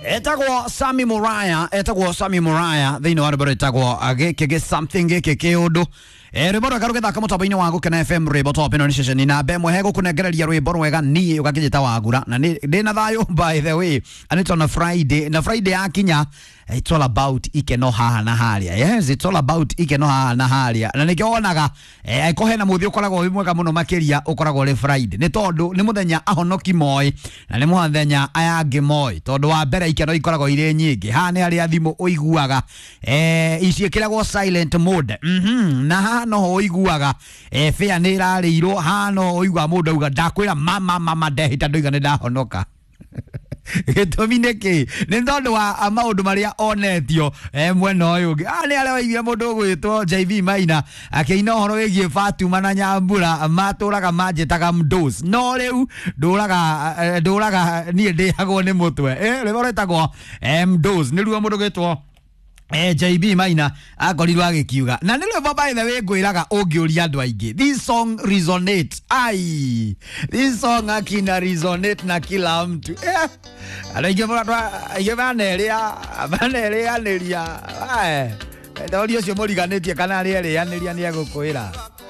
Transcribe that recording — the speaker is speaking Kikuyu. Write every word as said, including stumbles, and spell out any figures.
Etagwo Sami Muraya, etagwo Sami Muraya thĩinĩ wa rwĩmbo rwĩtagwo gĩkĩ gĩ something gĩkĩ kĩũndũ. Eh, rwĩmbo rwega rũgĩthaka mũtambo-inĩ wa Gũkena F M, rwĩmbo top ĩno nĩ ceceni namba ĩmwe hegũkũnengereria rwĩmbo rwega niĩ ũgakĩnjĩta Wagura na ndĩ na thayũ by the way, and it's on a Friday, na Friday yakinya it's all about ikeno haha na haria. Yes, it's all about ikeno haha na haria, na nikio wonaga eh ko hena muthi ukoragwo wi mwega muno makiria ukoragwo uri Friday, ni tondu ni muthenya ahonoki moi na ni muthenya aya angi moi, tondu wa mbere ikeno ikoragwo iri nyingi. Haha ni haria thimu uiguaga eh ici ikiragwo silent mode, mhm na haha no uiguaga eh fare ni irariirwo, haha no uiguaga mundu auga ndakwira mama mama ndehita ndoiga ni ndahonoka. Gĩtũmi nĩ kĩ? Nĩ tondũ wa maũndũ marĩa onetio eh, mwena ũyũ ũngĩ. Ah, nĩ arĩa waiguire mũndũ ũgwĩtwo J V Maina akĩina ũhoro wĩgiĩ Fatuma na Nyambura matũraga manjĩtaga mdos, no rĩu ndũraga ndũraga niĩ ndĩagwo nĩ mũtwe. Eh, rwĩmbo rwĩtagwo mdos nĩruo mũndũ ũgwĩtwo eh, J B Maina akorirwo agĩkiuga, na nĩ rwĩmbo by the way ngwĩraga ũngĩũria andũ aingĩ, this song resonates. Ai, this song akina resonate na kila mtu. Eh, andũ aingĩ mũno aingĩ manerĩa manerĩanĩria. Ai, ndori ũcio mũriganĩtie kana arĩerĩanĩria nĩ egũkwĩra.